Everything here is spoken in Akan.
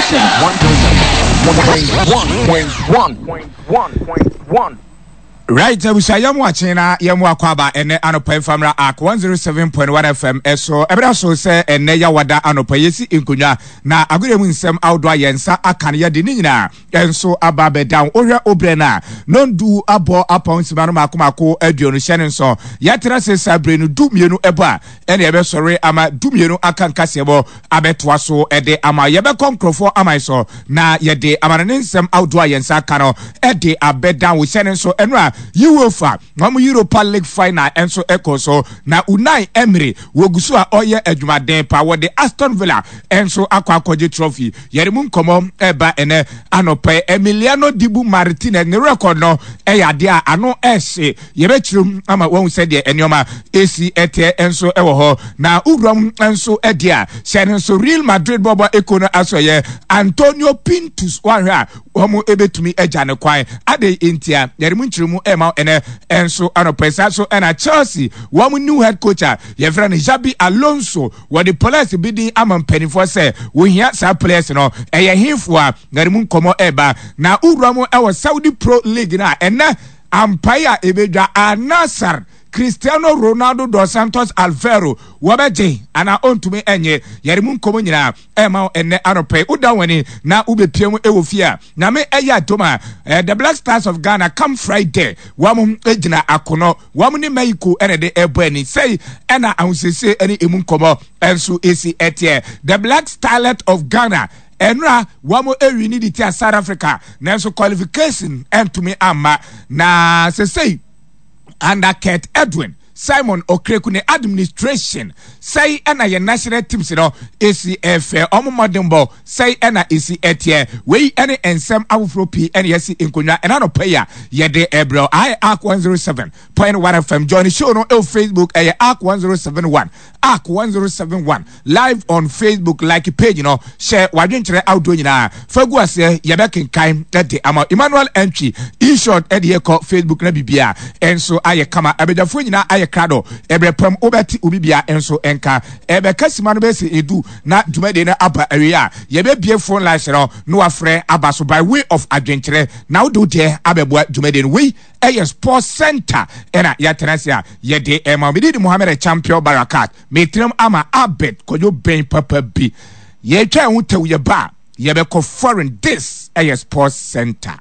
Station 101.1.1.1. Right, abusua yɛn mu akyen na yɛn mu akɔ aba ɛnɛ anɔpa mfamra ak 107.1 FM ɛso ɛbɛda so sɛ ɛnɛ yawada anɔpa yɛsi nkonnwa na agodeɛ mu nsɛm ahodoɔ a yɛn nsa aka no yɛde ne nyinaa nso aba abɛda wo. Wohwɛ wo berɛ no a, nondu abɔ apɔn nsima no mako mako 20 hyɛ ne nsɔ. Yɛtena se saa bere no 12 ɛbɔ a, ɛne ɛbɛsɔre ama 12 aka nkaseɛbɔ abɛtoa so de ama. Yɛbɛkɔ nkurɔfoɔ aman so na yɛde amanɔne nsɛm ahodoɔ a yɛn nsa aka no de abɛda wo. Hyɛ ne nso ɛno a UEFA wɔn Europa League final nso ɛkɔ so na Unai Emery wɔgu so a ɔyɛ adwumaden pa wɔde Aston Villa nso akɔ akɔgye trophy. Yɛde mu nkɔmmɔ ɛreba ɛnɛ anɔpa yi. Emiliano Dibu Martinez ne record no ɛyɛ adeɛ a ano ɛhye. Yɛbɛkyerɛ mu ama wɔn sɛdeɛ nneɛma esi ɛteɛ nso ɛwɔ hɔ. Na wura mu nso ɛdeɛ a hyɛ no nso Real Madrid bɔbɔ eko no aso ɛyɛ Antonio Pintus wɔahwɛ a wɔn ebetumi agya ne kwan. Adɛn ntia? Yɛde mu nkyerɛmu ɛma ɛnɛ nso anɔpa yi. Saa so ɛna Chelsea wɔn new head coach a yɛfrɛ no Xabi Alonso Wɔde players bi din ama mpanimfoɔ sɛ wɔhia saa players no. Ɛyɛ hefoɔ a? Na ne mu nkɔmmɔ ɛreba. Na wowura mu wɔ Saudi Pro League no a, ɛnnɛ ampae a ɛbɛdwa Al Nassr, Cristiano Ronaldo dos Santos Alvaro wɔbɛgye anaa ɔntumi nnye. Yɛde mu nkɔmmɔ nyinaa ɛrema wo ɛnnɛ anɔpa yi. Woda w'ani na wobɛpia mu wɔ fie a, Nyame ɛyɛ adom a, eh, The Black Stars of Ghana come Friday, wɔn gyina akono. Wɔn ne Mexico na ɛde ɛbɔ ani. Sɛi ɛna ahosiesie ne emu nkɔmmɔ nso esi ɛteɛ. The Black Starlet of Ghana ɛnora wɔn ɛwi ne de tia South Africa nanso qualification ɛntumi amma na sesei under Kurt Edwin Simon Okraku ne administration sɛi ɛna yɛn national teams no esi ɛfɛ wɔn mmɔdenbɔ Sɛi ɛna esi ɛteɛ. Wei ɛne nsɛm afoforɔ pii ɛna yɛasi nkonnwa ɛna anɔpa yi a yɛde ɛbrɛ wo. Aha yɛ Ark 107.1 FM. Join show no ɛwɔ Facebook ɛyɛ Ark 1071. Ark 1071 live on Facebook. Like page no, hyɛ w'adwenkyerɛ ahodoɔ nyinaa fa gu aseɛ yɛbɛkenkan ɛde ama wo. Emmanuel Antwi in short ɛde yɛkɔ Facebook na biribiara ɛnso ayɛ kama. Abadwafoɔ nyinaa ayɛ krado. Ɛbrɛ pam wobɛte obi biara nso nka. Ɛbɛka sima no bɛsɛ edu. Na dwumadie no aba awie a, yɛbɛbue phone lines no na wafrɛ aba so by way of adwenkyerɛ na wode wo deɛ abɛboa dwumadie no. Wei ɛyɛ Sports Center ɛna yɛatena ase a yɛde ɛma wo. Mede di Mohammed Champion Barakat. Metenam ama Albert Kwadwo Bɛn papa bi. Yɛtwa ɛho tɛw yɛba a yɛbɛkɔ foreign. This ɛyɛ Sports Center.